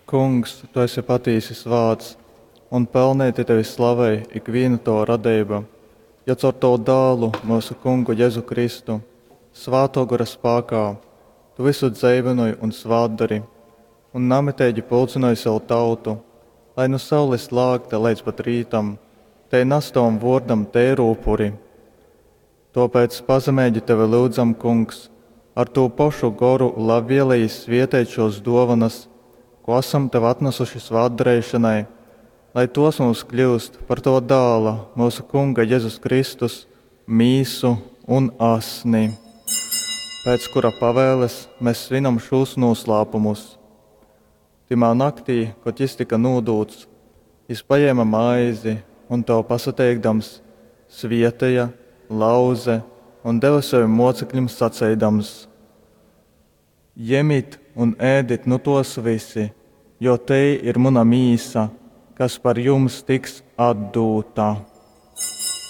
Kungs, tu esi patīsi svāts, un pelneiti tevi slavej ikvīna tova radeiba, jo caur tovu Dālu, myusu Kungu Jezu Kristu, Svātō Gora spākā tu vysu dzeivynoj un svātdori, un namiteigi pulcynoj sev tautu, lai nu saules lākta leidz pat rītam tei nas tovam vōrdam teiru upuri. Tōpēc pazemeigi tevi lyudzam, Kungs, ar tū pošu Goru labvieleji svēteit šōs dōvonas, kū asam tev atnasuši svātdareišonai, lai tōs mums kļyust par tova Dāla, myusu Kunga Jezus Kristus, mīsu un asni. Pēc kura pavēles mes svinam šūs nūslāpumus. Tymā naktī, kod jys tyka nūdūts, jys pajēme maizi un, tev pasateikdams, svēteja, lauze un deve sovim mōceklim saceidams, Jemit un ēdit nu tōs vysi, jo tei ir muna mīsa, kas par jums tiks atdūta.